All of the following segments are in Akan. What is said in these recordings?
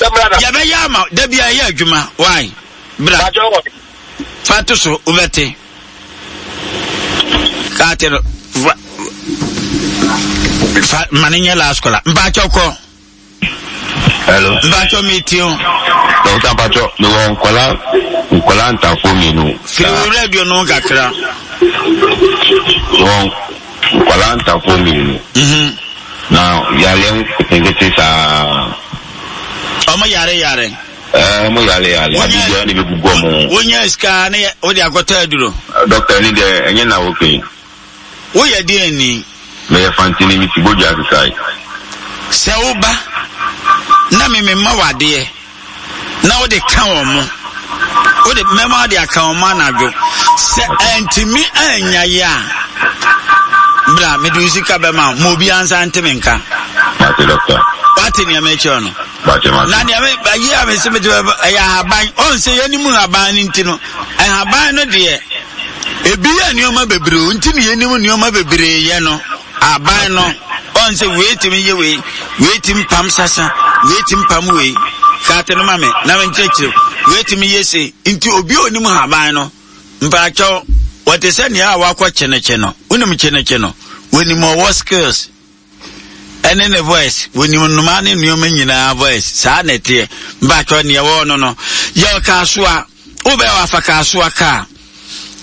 Yɛbɛyɛ ama da bi a ɛyɛ adwuma. Why? Bra. Fa to so wobɛte. Kaate no fa fa ma ne nyɛ last caller. Mpakyɛw kɔ. Hello. Mpakyɛw mi ti o. Dɔkta mpakyɛw mi wɔ nkɔla nkɔla ntafo mmienu. Firi wo radio no kakra. Wɔ nkɔla ntafo mmienu. Mhm. Na yaleɛ nketenkete saa. Ɔmo yare yare. Ɛɛ ɔmo yale yale ade biara na ebegugu ɔmo ho. Wonya sika ne wode akɔtɔ aduro. Dɔkta ni deɛ ɛnyɛ na woke. Woyɛ deɛn ni? Meyɛ fantini mesi bodua sesae. Sɛ woba na me mema wo adeɛ na wode ka wɔn mo wode mɛma wode aka wɔn mo anadwo sɛ antumi annya yɛ a bra mede wo sika bɛma wo ma obi ansa nte me nka. Mate dɔkta. Wate nea mekyerɛ no? Na nea me ayi a mese mede ɛyɛ ahaban ɔn sɛ yɛnim ahaban no nti no ahaban no deɛ Ebi yɛ nneɛma bebree o, nti na yɛnim nneɛma bebree yɛ no. Aban no, ɔn sɛ wei tumi yɛ wei, wei tumi pam sasa, wei tumi pam wei. Kaate no ma me, na menkyerɛkyerɛ wei tumi yɛ sei. Nti obi a onim haban no, mpaakyɛw, wɔte sɛ nea a wakɔ kyenekye no. Wonim kyenekye no? Wɔnim ɔwɔ skills. ɛne ne voice wɔnim nnomaa ne nneɛma nyinaa voice saa na ɛteɛ mpakyɛ neɛ wɔwɔ no no yɛ kaasoa wobɛyɛ wafa kaasoa kaa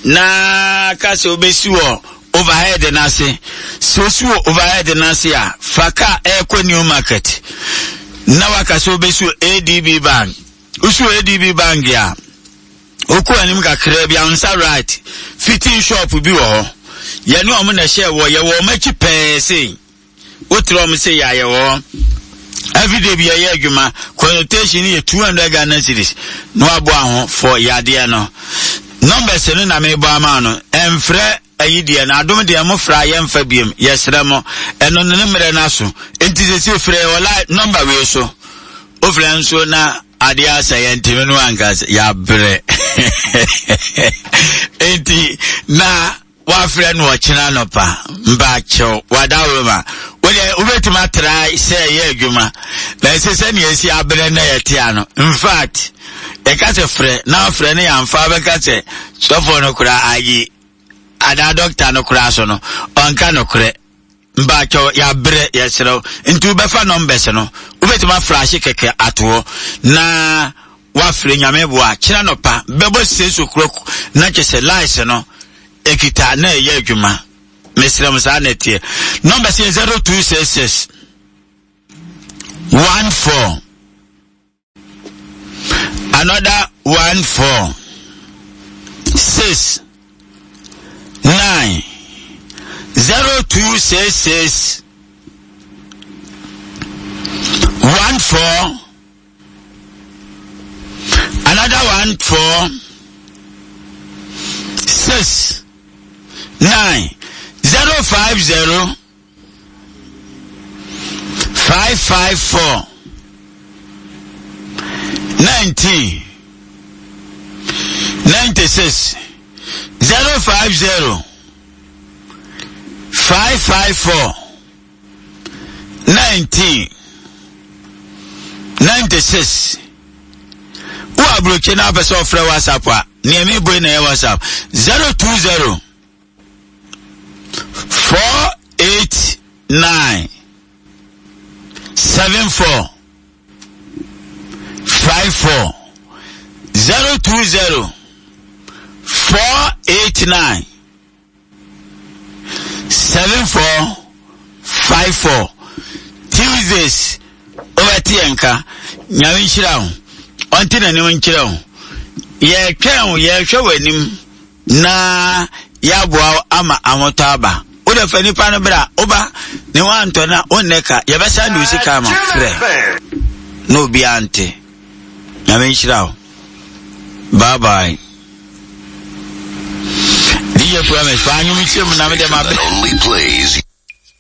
na ka sɛ wobɛsi wɔ overhead no ase sɛ wosi wɔ overhead no ase a fa kaa ɛrekɔ new market na waka sɛ wobɛsi wɔ adb bank wosi wɔ adb bank a Wokɔ anim kakraa bi, ansa right, fitting shop bi wɔ hɔ. Yɛne wɔn na ɛhyɛ wɔ, yɛwɔ wɔn akyi pɛɛ sei. Wotrɛ wɔn sei a, yɛwɔ hɔ. Everyday bi yɛyɛ adwuma, consultation yɛ 200 Ghana cedis na waboa ho for yadeɛ no. Numbers no na mebɔ ama no, ɛmfrɛ ayi deɛ no, adom deɛ mo frɛ a yɛmfa biom, yɛsrɛ mo. Ɛno no ne mmerɛ no aso. Nti sɛsi frɛ wɔ line number wei so. Wofrɛ nso na adeɛ asa yɛntumi no anka sɛ yɛabrɛ enti na wafrɛ no ɔkyena nɔpa mpakyɛw wada roma wodeɛ wobɛtumi atra sɛ ɛyɛ adwuma na ɛsɛ sɛnea ɛsi abrɛ na yɛte ano infact yɛka sɛ frɛ na frɛ no yɛamfa bɛka sɛ sɔfoɔ no koraa ayi anaa dɔkta no koraa so no ɔnka nokorɛ Mpakyɛw yɛabrɛ yɛserɛ wo nti wobɛfa numbers no wobɛtumi aflashe kɛkɛ ato hɔ na wafrɛ nyame boa kyena nɔpa bɛbɔ 6 o'clock na kyɛ sɛ lies no ɛkita na ɛyɛ adwuma mesrɛ mo saa na ɛteɛ numbers yɛ 0266 14 another 1 4 6 9 0 2 6 6 1 4 another 1 4 6 9 0 5 0 5 5 4 19 96 050 554 19 96 wo aburokyi na apɛ sɛ ɔfrɛ whatsapp a nea mebɔ na ɛyɛ whatsapp 020 489 74 54 020 489 74 54 Tuesdays wobɛte yɛn nka nyame nhyira wo ɔnte n'anim nkyerɛ wo yɛtwɛn wo yɛhwɛ w'anim na yɛaboa wo ama ahotɔ aba. Wo deɛ fa nipa no bra, woba ne ho antɔ na wonnɛ ka, yɛbɛsan de wo sika ama frɛ na obiara nte. Nyame nhyira wo. Bye bye. DJ Promise, fa anwom kyerɛ mu na me deɛ ma.